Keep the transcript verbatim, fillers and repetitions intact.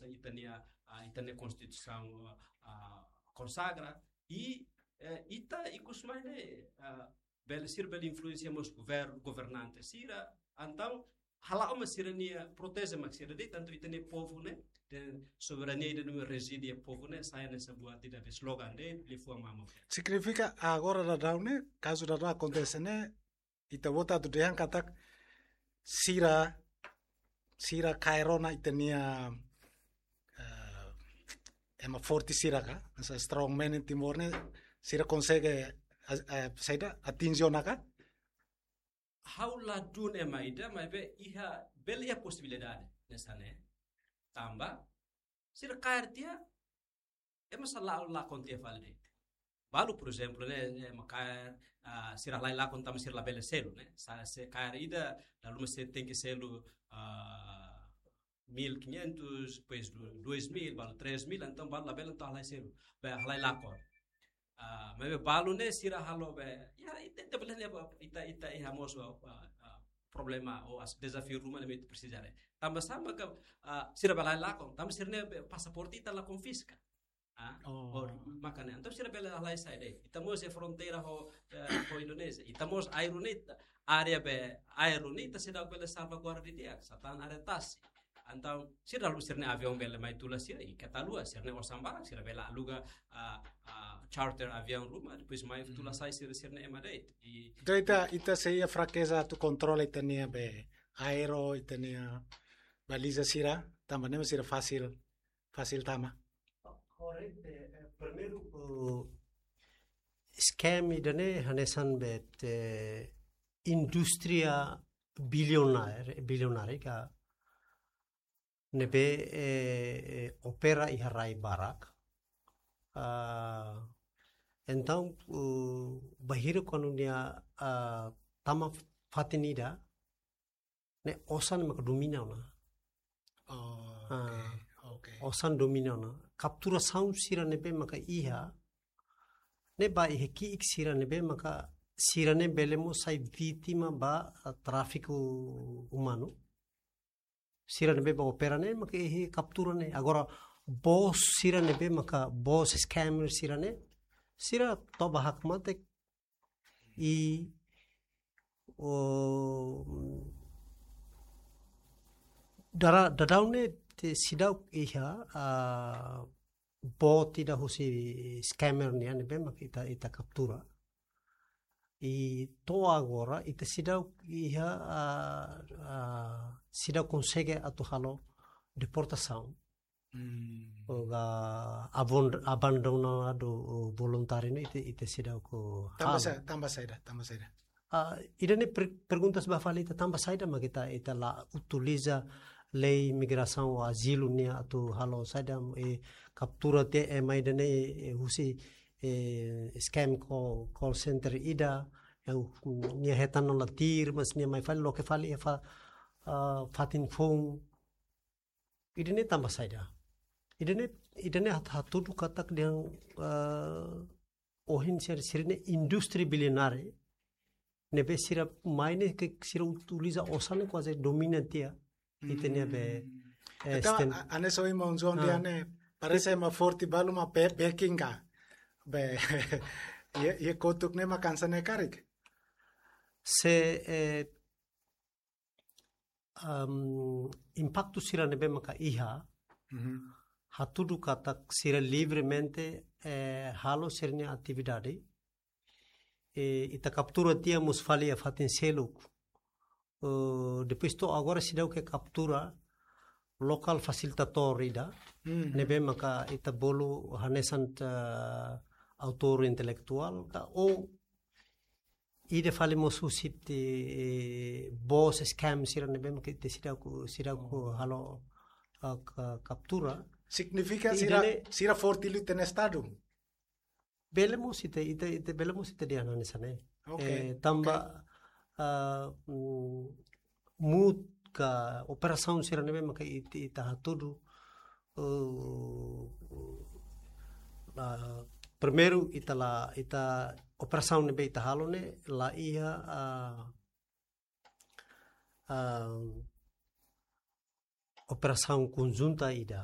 ita-nia, ah, ita-nia konstituisaun, ah, konsagra, i, eh, ita ikus mai ne'e, ah, bele, sira bele influensia mós governu, governante sira, entaun, hala'o mak sira-nia proteje mak sira de'it, tantu ita-nia povu ne'e, de soberania ida ne'ebé rezide iha povu ne'e, sai hanesan buat ida be slogan de'it, liafuan mamuk. Signifika agora daudaun ne'e, kazu daudaun akontese ne'e, ita-boot atu dehan katak sira, sira kaer ona ita-nia, eh, ema forte sira ka, esa strong man iha Timor ne'e, sira konsege, eh, eh, saida, atinje ona ka? Ha'u ladún ema ida, maibé iha, bele iha posibilidade hanesan ne'e. Tanba, sira kaer tiha, ema sira la, lakon tiha fali de'it. Balu, por ezemplu, ne'e, ema kaer, ah, sira halai lakon tanba sira labele selu, ne'e. Sa, se kaer ida, lalu mós sira tenke selu, ah, mil e quinhentos, depois do-, dois mil, balu três mil, entaun balu labele entaun halai selu, be halai lakon. Ah, maibé balu ne'e sira halo be, ya, ita, ita bele ne'e, ita, ita iha mós, ah, ah, problema ou as-, dezafiu ruma ne'ebé ita presiza haree. Tanba sá maka, ah, sira bele halai lakon, tanba sira-nia be pasaporte ita la konfiska. Ah, oh, maka ne'e. Entaun sira bele halai sai de'it. Ita mós iha fronteira ho, eh, ho Indonézia. Ita mós Aero ne'e, área be Aero ne'e ita seidauk bele salvaguarda didi'ak, sa tan área tasi. Entaun, sira lalu sira-nia aviaun bele mai tula sira, i keta haluha, sira-nia osan barak, sira bele aluga, ah, ah, charter aviaun ruma, depois mai tula sai sira, sira-nia ema de'it. I entaun ita, ita sei iha frakeza atu kontrola ita-nia be Aero, ita-nia baliza sira, tanba ne'e mak sira fasil, fasil tama. Korretu, eh, primeiru, eh, scam ida-ne'e hanesan be, eh, indústria bilionária, bilionária ka ne'ebé, eh, eh, opera iha rai barak. Ah, entaun, uh, bainhira kuandu nia, ah, tama fatin ida, ne'e osan maka domina ona. Oh, ah, oke, oke. Osan domina ona. Kapturasaun sira ne'ebé maka iha, ne'e ba iha ki'ik sira ne'ebé maka sira ne'e bele mós sai vítima ba, ah, tráfiku umanu. Sira ne'ebé ba opera ne'e maka iha kaptura ne'e. Agora, bos sira ne'ebé maka bos scammer sira ne'e, sira toba hakmatek i, o, dara, daudaun ne'e ita seidauk iha, ah, boot ida husi scammer nian ne'ebé maka ita, ita kaptura. I to'o agora, ita seidauk iha, ah, ah, seidauk konsege atu halo deportasaun. Hmm. Ou ka abon-, abandonadu, ou voluntáriu ne'e ita, ita seidauk halo. Tanba sa-, tanba saida, tanba saida. Ah, ida-ne'e per-, perguntas ba fali ita tanba saida mak ita, ita la utiliza lei migrasaun ou azilu nian atu halo saida, eh, kaptura tiha ema ida-ne'e, eh, husi, eh, scam call, call center ida, eh, nia hetan ona tuir, mas nia mai fali, loke fali iha fa-, ah, fatin foun. Ida-ne'e tanba saida. Ida-ne'e, ida-ne'e hat-, hatudu katak dehan, eh, ohin sira, sira-ne'e indústria bilionária. Ne'ebé sira mai ne'e ke sira utiliza osan ne'e kuaze domina tiha. Ita-nia be, hmm, eh, entaun, sten-, a-, hanesan ohin maun João, ah, dehan ne'e, parese ema forte balu mak be-, backing ka. Be, iha, iha kotuk ne'e mak hanesan ne'e karik. Se, eh, am, impaktu sira ne'ebé maka iha, mhm, hatudu katak sira livremente, eh, halo sira-nia atividade. Eh, ita kaptura tiha mós fali iha fatin seluk. Eh, depois to'o agora seidauk kaptura lokál fasilitadór ida, mhm, ne'ebé maka ita bolu hanesan, eh, autór intelektuál ka, ou ida fali mós husi, eh, bos scam sira ne'ebé maka ita seidauk, seidauk, oh, halo, ah, ka-, kaptura. Signifika sira, ida-ne'e sira forte liu iha Estadu? Bele mós ita, ita, ita bele mós ita dehan hanesan ne'e. Oke, eh, tanba, oke, ah, mm, mut ka operasaun sira ne'ebé maka it-, ita hatudu, eh, la, primeiru ita la, ita operasaun ne'ebé ita halo ne'e la iha, ah, ah, operasaun konjunta ida,